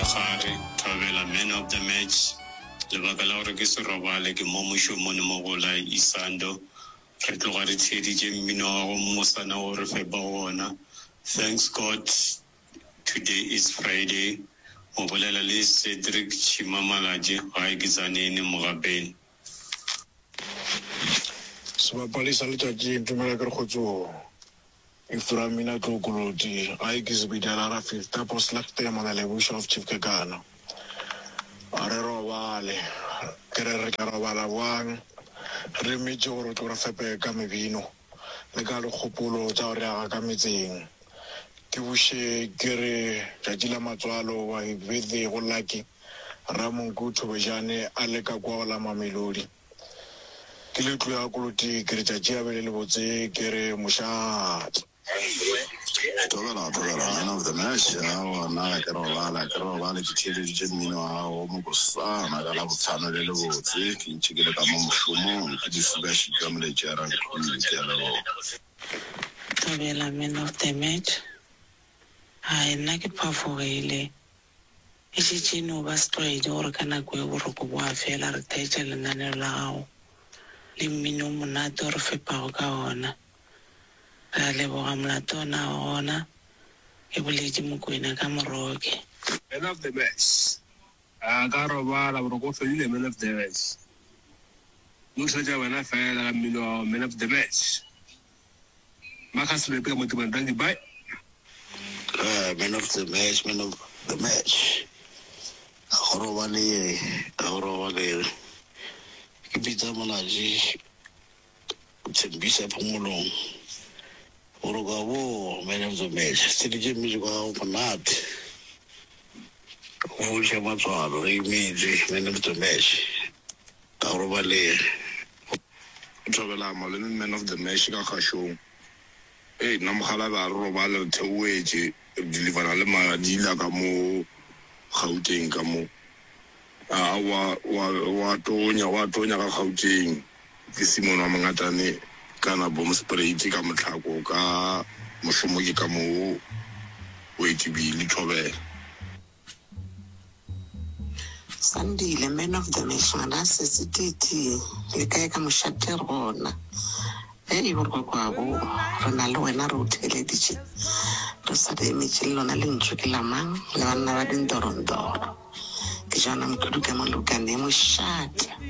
mosegare. Thobela man of the match. Lebaka la gore ke se robale ke mo mošomong mo go la Isando. Re tloga re theeditše mmino wa gago mosana wo re fepago wona. Thanks God today is Friday. O bolela le Cedric Chima Malatji, gae ke Tzaneen, Mogapeng. Sebapadi sa letšatši ntumela ke re kgotsong. Ephraim Tlokoloti, gae ke Zebediela Rafifta Poslegte Monalebuša of Chief Kekana. A re robale. Ke re re tla robala bjang re emetše gore o tlo re fepe ka mebino le ka dikgopolo tša go re aga ka metseng. Ke buše ke re tšatši la matswalo wa birthday go Lucky Ramonku Thobejane a le ka kwa go la Mamelodi. Ke le tloya Koloti ke re tšatši a be le lebotse ke re mošate. Thobela thobela man of the match aowa nna ga ke robale ga ke robale ke theeleditše mmino wa gago wo mobosana ka Labohlano le lebotse ke ntše ke le ka mo mošomong ke difukašika moletši ya Rankhulu ke a leboga. Thobela man of the match hai nna ke phafogile. E šetše e no ba setlwaedi gore ka nako ye boroko bo a fela re theetša lenaneo la gago le mmino o monate o re fepago ka ona. Re a leboga molato ona o gona, ke boletše Mokwena ka Moroke. Man of the match. A ka robala boroko bo fedile man of the match. No theetša wena fela ka mmino wa gago man of the match. Marcus Lepe ka mo Tebane dankie bye. Ah, man of the match, man of the match. Ga go robalege, ga go robalege. Ke Peter Molaji, Tshembisa Phomolong. Boroka bo, man of the match. Tsheditše music wa gago monate. Go fodiša matswalo, re imetše, man of the match. Ga go robalege. Thobela malome man of the match ka kgašong. Hei nna mokgalabje a re robale re theoetše re delivera le madila ka mo Gauteng ka mo. Aa wa wa wa tonya wa tonya ka Gauteng. Ke Simon wa Mongatane kana Bomspruit ka Mohlako ka mošomo ke ka mo Wetibili Thobela. Sandile, man of the match ngwana sesi TT le kae ka mošate re gona hei borokwakwabo re na le wena re o theeleditše re sa le emetše le lona lentšu ke la mang le banna ba dintorontoro ke Jona Mokhudu ka mo Lukane mošate.